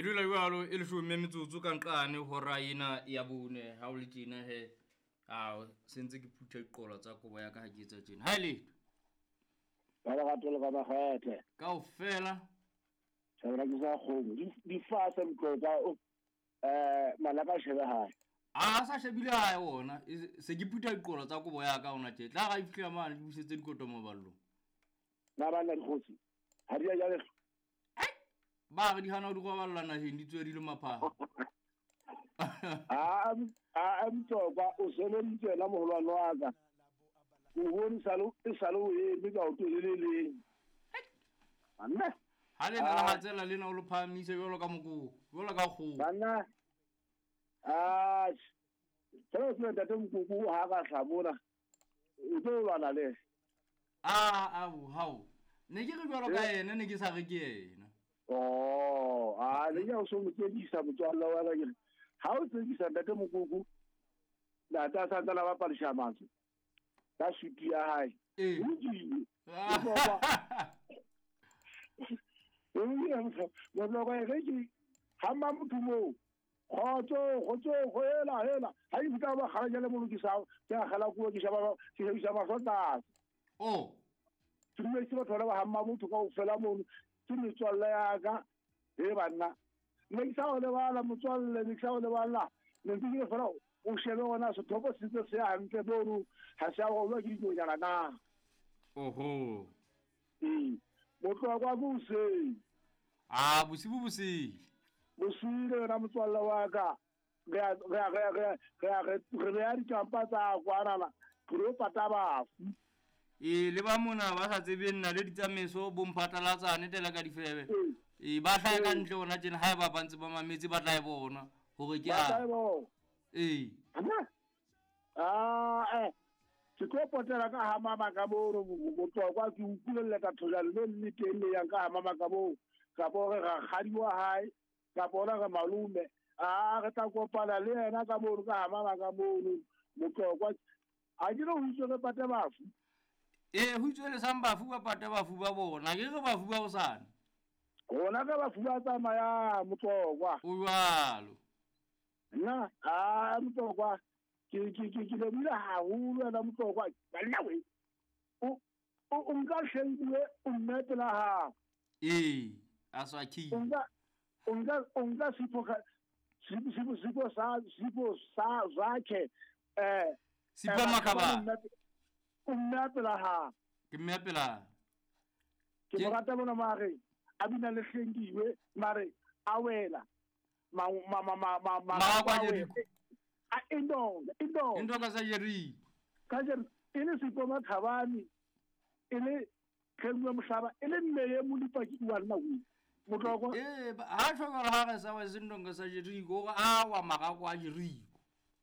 dula jwalo e leshome metsotso ka nqane hora ena ya bone ha o le tjena he. A sentse ke phutha diqolo tsa kobo ya ka ha ke etsa tjena. Ha e letho. Ka lerato le ka makgethe. Kaofela. Thabela ke sa kgomo. Di fasa motloka malapa a shebe hae. A sa shebile hae ona. Se ke phutha diqolo tsa kobo ya ka ona tje. Tla ga e fihla mane di busetse dikoto maballong. Na bana dikgosi. Ha di a ja le. Ba re di hana ho di roballa naheng di tswe di le maphara. A mtsoka o sebeditse yena moholwane wa ka. O bone sale o eme ka o teleleng. Banna. Ha le na la tsela lena o lo phahamise jwalo ka mokoko, jwalo ka kgoho. Banna. Ah. Tsela se ntate mokoko ha ka hlabona. O tlo lwana le. Ah, hao. Ne ke re jwalo ka yena ne ke sa re ke yena. Oh, a le ya o so motsedisa motswalla wa ka ke. Ha o tsedisa ntate mokoko. Ntate a sa tsala ba palisha mantswe. Ka suti ya hae. Eh. Ke ha motho mo. Khotso go hela hela. Ha e fika ba kgala le mo ke sa ke a kgala kuo ke shaba ke shebisa mahlo tlase. Oh. Ke dumetse batho ba ha motho ka ofela mono. Ke metswalle ya ka e banna. Ne ke sa o lebala motswalle, ne ke sa o lebala. Ne ke ile fela o shebe ona sethopo se ntse se hantle mono ha se a rolwa ke dinonyana na. Oho. Ee. Motloa kwa boseng. Ah, bosibu bosile. Bosile yona motswalle wa ka. Re ya dikampa tsa kwanana. Re pata bafu. E le ba mona ba sa tsebeng nna le ditsamaiso bo mphatlalatsane tela ka difebe. E ba hlahe ka ntle ona tjena ha e ba ntse ba mametse ba tla e bona hore ke a. Ee. Ah ke tlo potela ka ha mama ka mono motlokwa ke utlwelle ka thola le le teng le yang ka ha mama ka moo ka bo re rakgadi wa hae ka bona re malome a re tla kopana le yena ka mono ka ha mama ka mono motlokwa a ke re ho itse re pate bafu. Eh ho itswe le sang bafu ba pate bafu ba bona ke re bafu ba hosane. Rona ka bafu ba tsamaya motlokwa. O jwalo. Nna a motlokwa ke lebile haholo yena motlokwa banna we. O nka hlengwe o mme pela hao. Ee, a sa ki. O nka sipho sa zakhe Sipho Makaba. O mme pela ha. Ke mme pela. Ke mo rata bona mare a bina le hlengiwe mare a wela ma a indo ka sa jeri. Ka jeri e le Sipho Makhabane e le hlengwe mohlaba e le mme ye mo dipaki wa nna o motlokwa. Eh ha tlhoka ha re sa wa sindonga sa jeri go a wa mara kwa jeri.